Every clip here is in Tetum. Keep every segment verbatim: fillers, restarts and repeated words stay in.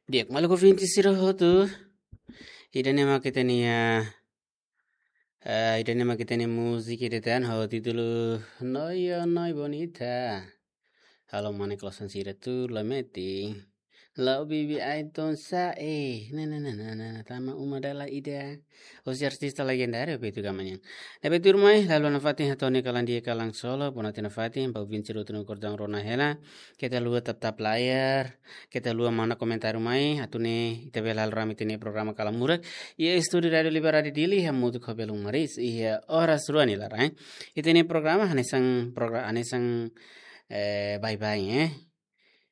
Di'ak, maluk ouvinte sira hotu. Ida-ne'e mak ita-nia, eh, ida-ne'e mak ita-nia múzika ida tan ho títulu Noi, oh, Noi Bonita. Halo mane klosan sira tuur la metin. La'o bibi ai-ton sa'e. Na, na, na, na, na, na, tama uma dala ida. Hosi artista legendáriu Beto Gamanian. Ne'ebé tuirmai, halo nafatin hato'o nia kalan di'ak kalan solok, bona tiha nafatin, ba ouvinte sira hotu no kordang rona hela. Keta haluha tap-tap layar, keta haluha manda komentáriu mai, atu nune'e ita bele halo rame ita-nia programa Kalan Murak. Iha estúdiu Rádiu Liberdade Dili, hamutuk ho belun maris, iha oras rua nia laran. Ita-nia programa, hanesan progra-, hanesan, eh, baibain, eh.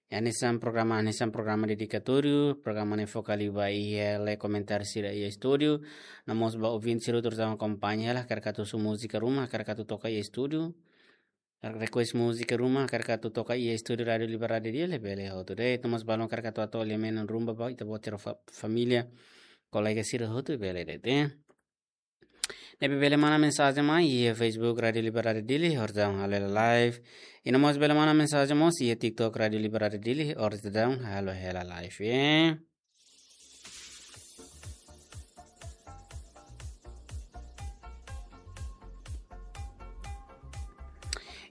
Hanesan programa, hanesan programa dedikatóriu, programa ne'e foka liu ba iha lee komentáriu sira iha estúdiu. No mós ba ouvinte sira hotu atu akompaña hela, hakarak atu husu múzika ruma, hakarak atu toka iha estúdiu. Request múzika ruma, hakarak atu toka iha estúdiu Rádiu Liberdade Dili, bele hotu de'it. No mós balun hakarak atu hato'o lia-menon ruma ba ita-boot sira fa-, família, kolega sira hotu bele de'it, eh. Ne'ebé bele manda mensajen mai iha Facebook Rádiu Liberdade Dili, orsida halo hela live. I no mós bele manda mensajen mós iha TikTok Rádiu Liberdade Dili, orsida halo hela live, eh.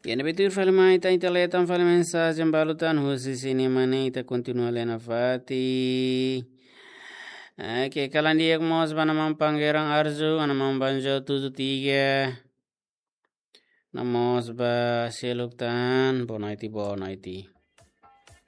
Iha ne'ebé tuir fali mai, ita, ita lee tan fali mensajen balu tan husi sira-nia mane, ita kontinua lee nafatin. Oke, kalan di'ak mós ba Ana Maun Pangerang Arzu, Ana Maun Banjo tujuh tiga. No mós ba seluk tan, boa noite, boa noite.